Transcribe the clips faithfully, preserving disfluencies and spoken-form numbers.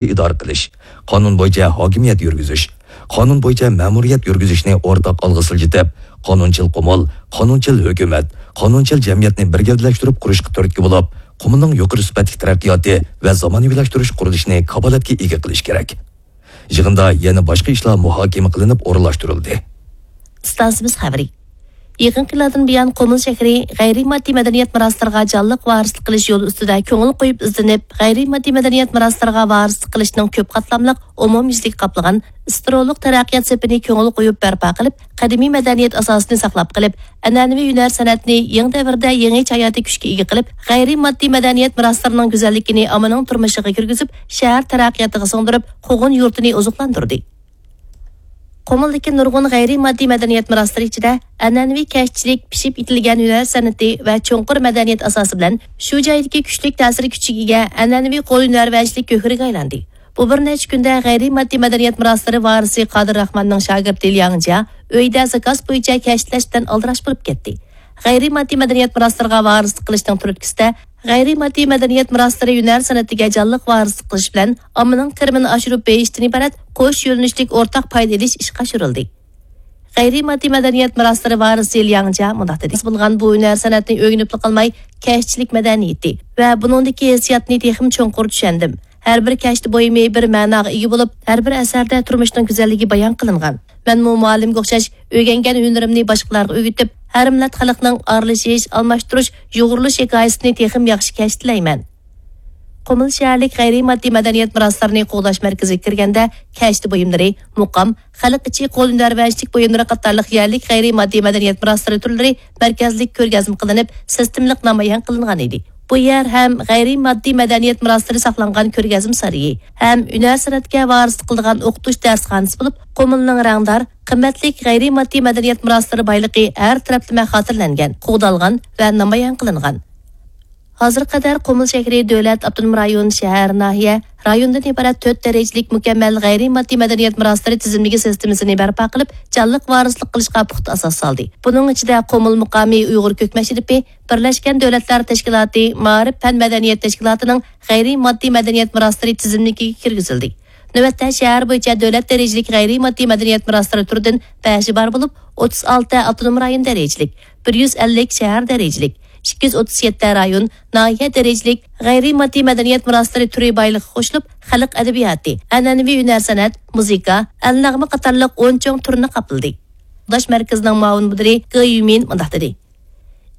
ئىدارە قىلىش، قانۇن بويىچە ھاكىمىيەت يۈرگۈزۈش، قانۇن بويىچە مەمۇرىيەت يۈرگۈزۈشنى ئورتاق ئالغا سىلجىتىپ، قانۇنچىل قۇمۇل، قانۇنچىل ھۆكۈمەت، قانۇنچىل جەمئىيەتنى بىر گەۋدىلەشتۈرۈپ قۇرۇشقا تۈرتكە بولۇپ، قۇمۇلنىڭ يۇقىرى سۈپەتلىك تەرەققىياتى ۋە زامانىۋىلاشتۇرۇش قۇرۇلۇشىنى كاپالەتكە ئىگە قىلىش كېرەك. يىغىندا يەنە باشقا ئىشلار مۇھاكىمە قىلىنىپ ئورۇنلاشتۇرۇلدى. ئىستانسىمىز خەۋىرى. يېقىنقى يىللاردىن بۇيان، قۇمۇل شەھىرى غەيرىي ماددىي مەدەنىيەت مىراسلىرىغا جانلىق ۋارىسلىق قىلىش يولى ئۈستىدە كۆڭۈل قويۇپ ئىزدىنىپ، غەيرىي ماددىي مەدەنىيەت مىراسلىرىغا ۋارىسلىق قىلىشنىڭ كۆپ قاتلاملىق، ئومۇميۈزلۈك قاپلىغان ئىسترولۇق تەرەققىيات سېپىنى كۆڭۈل قويۇپ بەرپا قىلىپ، قەدىمىي مەدەنىيەت ئاساسىنى ساقلاپ قېلىپ، ئەنئەنىۋى ھۈنەر سەنئەتنى يېڭى دەۋردە يېڭىچە ھاياتىي كۈچكە ئىگە قىلىپ، غەيرىي ماددىي مەدەنىيەت مىراسلىرىنىڭ گۈزەللىكىنى ئاممىنىڭ تۇرمۇشىغا كىرگۈزۈپ، شەھەر تەرەققىياتىغا سىڭدۈرۈپ، قوغۇن يۇرتىنى ئوزۇقلاندۇردى. قۇمۇلدىكى نۇرغۇن غەيرىي ماددىي مەدەنىيەت مىراسلىرى ئىچىدە ئەنئەنىۋى كەشتىچىلىك، پىشىپ يېتىلگەن ھۈنەر سەنئىتى ۋە چوڭقۇر مەدەنىيەت ئاساسى بىلەن شۇ جايدىكى كۈچلۈك تەسىر كۈچىگە ئىگە ئەنئەنىۋى قول ھۈنەرۋەنچىلىك گۆھىرىگە ئايلاندى. بۇ بىر نەچچە كۈندە غەيرىي ماددىي مەدەنىيەت مىراسلىرى ۋارىسى قادىر راخماننىڭ شاگىرتى لياڭ جيا ئۆيىدە زاكاز بويىچە كەشتىلەش بىلەن ئالدىراش بولۇپ كەتتى. غەيرىي ماددىي مەدەنىيەت مىراسلىرىغا ۋارىسلىق قىلىشنىڭ تۈرتكىسىدە، غەيرىي ماددىي مەدەنىيەت مىراسلىرى ھۈنەر سەنئىتىگە جانلىق ۋارىسلىق قىلىش بىلەن ئاممىنىڭ كىرىمىنى ئاشۇرۇپ بېرىشتىن ئىبارەت قوش يۆنىلىشلىك ئورتاق پايدا ئېلىش ئىشقا ئاشۇرۇلدى. غەيرىي ماددىي مەدەنىيەت مىراسلىرى ۋارىسى لياڭ جيا مۇنداق دېدى: بولغان بۇ ھۈنەر سەنئەتنى ئۆگىنىپلا قالماي، كەشتىچىلىك مەدەنىيىتى ۋە بۇنىڭدىكى ھېسسىياتنى تېخىمۇ چوڭقۇر چۈشەندىم. ھەر بىر كەشتە بۇيۇمى بىر مەناغا ئىگە بولۇپ، ھەر بىر ئەسەردە تۇرمۇشنىڭ گۈزەللىكى بايان قىلىنغان. مەنمۇ مۇئەللىمگە ئوخشاش ئۆگەنگەن ھۈنىرىمنى باشقىلارغا ئۆگىتىپ، ھەر مىللەت خەلقنىڭ ئارىلىشىش، ئالماشتۇرۇش، يۇغۇرۇلۇش ھېكايىسىنى تېخىمۇ ياخشى كەشتىلەيمەن. قۇمۇل شەھەرلىك غەيرىي ماددىي مەدەنىيەت مىراسلىرىنى قوغداش مەركىزىگە كىرگەندە، كەشتە بۇيۇملىرى، مۇقام، خەلق ئىچى قول ھۈنەرۋەنچىلىك بۇيۇملىرى قاتارلىق يەرلىك غەيرىي ماددىي مەدەنىيەت مىراسلىرى تۈرلىرى مەركەزلىك كۆرگەزمە قىلىنىپ، سىستېمىلىق نامايان قىلىنغان ئىدى. بۇ يەر ھەم غەيرىي ماددىي مەدەنىيەت مىراسلىرى ساقلانغان كۆرگەزمە سارىيى، ھەم ھۈنەر سەنئەتكە ۋارىسلىق قىلىدىغان ئوقۇتۇش دەرسخانىسى بولۇپ، قۇمۇلنىڭ رەڭدار، قىممەتلىك غەيرىي ماددىي مەدەنىيەت مىراسلىرى بايلىقى ھەر تەرەپلىمە خاتىرىلەنگەن، قوغدالغان ۋە نامايان قىلىنغان. ھازىرغا قەدەر قۇمۇل شەھىرى دۆلەت، ئاپتونوم رايون، شەھەر، ناھىيە، رايوندىن ئىبارەت تۆت دەرىجىلىك مۇكەممەل غەيرىي ماددىي مەدەنىيەت مىراسلىرى تىزىملىكى سىستېمىسىنى بەرپا قىلىپ، جانلىق ۋارىسلىق قىلىشقا پۇختا ئاساس سالدى. بۇنىڭ ئىچىدە قۇمۇل مۇقامى ئۇيغۇر كۆكمە شىرىپى، بىرلەشكەن دۆلەتلەر تەشكىلاتى مائارىپ پەن مەدەنىيەت تەشكىلاتىنىڭ غەيرىي ماددىي مەدەنىيەت مىراسلىرى تىزىملىكىگە كىرگۈزۈلدى. نۆۋەتتە شەھەر بويىچە دۆلەت دەرىجىلىك غەيرىي ماددىي مەدەنىيەت مىراسلىرى تۈرىدىن بەشى بار بولۇپ، ئوتتۇز ئالتە ئاپتونوم رايون دەرىجىلىك، بىر يۈز ئەللىك شەھەر دەرىجىلىك، ئىككى يۈز ئوتتۇز يەتتە رايون، ناھىيە دەرىجىلىك غەيرىي ماددىي مەدەنىيەت مىراسلىرى تۈرى بايلىقىغا قوشۇلۇپ، خەلق ئەدەبىياتى، ئەنئەنىۋى ھۈنەر سەنئەت، مۇزىكا، ئەلنەغمە قاتارلىق ئون چوڭ تۈرنى قاپلىدى. قوغداش مەركىزىنىڭ مۇئاۋىن مۇدىرى گې يۈمىن مۇنداق دېدى: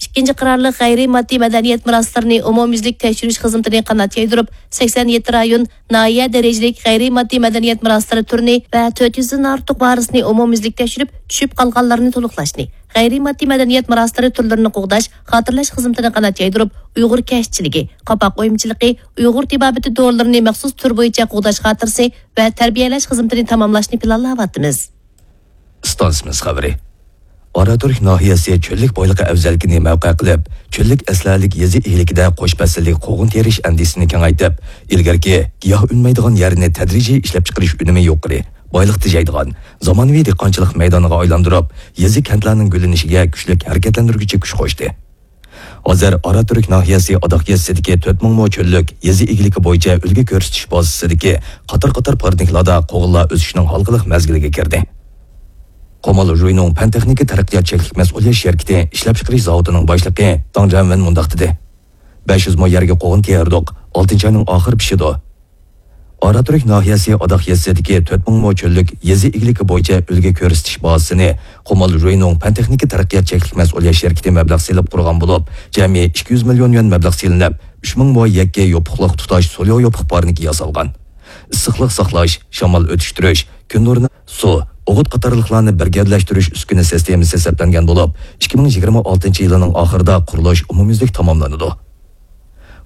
ئىككىنچى قارارلىق غەيرىي ماددىي مەدەنىيەت مىراسلىرىنى ئومۇميۈزلۈك تەكشۈرۈش خىزمىتىنى قانات يايدۇرۇپ، سەكسەن يەتتە رايون، ناھىيە دەرىجىلىك غەيرىي ماددىي مەدەنىيەت مىراسلىرى تۈرىنى ۋە تۆت يۈزدىن ئارتۇق ۋارىسنى ئومۇميۈزلۈك تەكشۈرۈپ، چۈشۈپ قالغانلارنى تولۇقلاشنى، غەيرىي ماددىي مەدەنىيەت مىراسلىرى تۈرلىرىنى قوغداش، خاتىرىلەش خىزمىتىنى قانات يايدۇرۇپ، ئۇيغۇر كەشتىچىلىكى، قاپاق ئويمىچىلىقى، ئۇيغۇر تېبابىتى دورىلىرىنى مەخسۇس تۈر بويىچە قوغداش خاتىرىسى ۋە تەربىيەلەش خىزمىتىنى تاماملاشنى پىلانلاۋاتىمىز. ئىستانسىمىز خەۋىرى. ئاراتۈرك ناھىيەسى چۆللۈك بايلىقى ئەۋزەللىكىنى مەۋقە قىلىپ، چۆللۈك ئەسلىھەلىك يېزا ئىگىلىكىدە قوش پەسىللىك قوغۇن تېرىش ئەندىزىسىنى كېڭەيتىپ، ئىلگىرىكى گىياھ ئۈنمەيدىغان يەرنى تەدرىجىي ئىشلەپچىقىرىش ئۈنۈمى يۇقىرى، بايلىق تېجەيدىغان زامانىۋى دېھقانچىلىق مەيدانىغا ئايلاندۇرۇپ، يېزا كەنتلەرنىڭ گۈللىنىشىگە كۈچلۈك ھەرىكەتلەندۈرگۈچى كۈچ قوشتى. ھازىر ئاراتۈرك ناھىيەسى ئاداق يېزىسىدىكى تۆت مىڭ مو چۆللۈك يېزا ئىگىلىكى بويىچە ئۈلگە كۆرسىتىش بازىسىدىكى قاتار-قاتار پارنىكلاردا قوغۇنلار ئۆسۈشنىڭ ھالقىلىق مەزگىلىگە كىردى. قۇمۇل ژۇينۇڭ پەن-تېخنىكا تەرەققىيات چەكلىك مەسئۇلىيەت شىركىتى ئىشلەپچىقىرىش زاۋۇتىنىڭ باشلىقى داڭ جيەنۋېن مۇنداق دېدى: بەش يۈز مو يەرگە قوغۇن تېرىدۇق، ئالتىنچى ئاينىڭ ئاخىرى پىشىدۇ. ئاراتۈرك ناھىيەسى ئاداق يېزىسىدىكى تۆت مىڭ مو چۆللۈك يېزا ئىگىلىكى بويىچە ئۈلگە كۆرسىتىش بازىسىنى قۇمۇل ژۇينۇڭ پەن-تېخنىكا تەرەققىيات چەكلىك مەسئۇلىيەت شىركىتى مەبلەغ سېلىپ قۇرغان بولۇپ، جەمئىي ئىككى يۈز مىليون يۈەن مەبلەغ سېلىنىپ، ئۈچ مىڭ مو يەككە يوپۇقلۇق تۇتاش سولياۋ يوپۇق پارنىكى ياسالغان. ئىسسىقلىق ساقلاش، شامال ئۆتۈشتۈرۈش، كۈن نۇرىنى، سۇ، ئوغۇت قاتارلىقلارنى بىر گەۋدىلەشتۈرۈش ئۈسكۈنە سىستېمىسى سەپلەنگەن بولۇپ، ئىككى مىڭ يىگىرمە ئالتىنچى يىلىنىڭ ئاخىرىدا قۇرۇلۇش ئومۇميۈزلۈك تاماملىنىدۇ.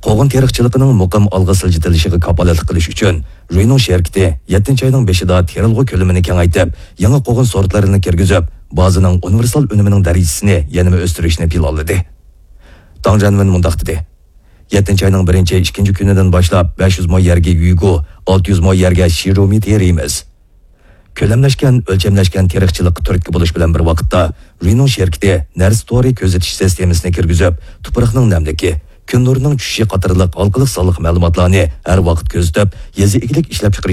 قوغۇن تېرىقچىلىقىنىڭ مۇقىم ئالغا سىلجىتىلىشىغا كاپالەتلىك قىلىش ئۈچۈن، ژۇينۇڭ شىركىتى يەتتىنچى ئاينىڭ بېشىدا تېرىلغۇ كۆلىمىنى كېڭەيتىپ، يېڭى قوغۇن سورتلىرىنى كىرگۈزۈپ، بازىنىڭ ئۇنىۋېرسال ئۈنۈمىنىڭ دەرىجىسىنى يەنىمۇ ئۆستۈرۈشنى پىلانلىدى. داڭ جيەنۋېن مۇنداق دېدى: يەتتىنچى ئاينىڭ بىرىنچى، ئىككىنچى كۈنىدىن باشلاپ، بەش يۈز مو يەرگە يۈيگۇ، ئالتە يۈز مو يەرگە شىرومى تېرىيمىز. كۆلەملەشكەن، ئۆلچەملەشكەن تېرىقچىلىققا تۈرتكە بولۇش بىلەن بىر ۋاقىتتا، ژۇينۇڭ شىركىتى نەرسە تورى كۆزىتىش سىستېمىسىنى كىرگۈزۈپ، تۇپراقنىڭ نەملىكى، كۈن نۇرىنىڭ چۈشۈشى قاتارلىق ھالقىلىق سانلىق مەلۇماتلارنى ھەر ۋاقىت كۆزىتىپ، يېزا ئىگىلىك ئىشلەپچىقىرىش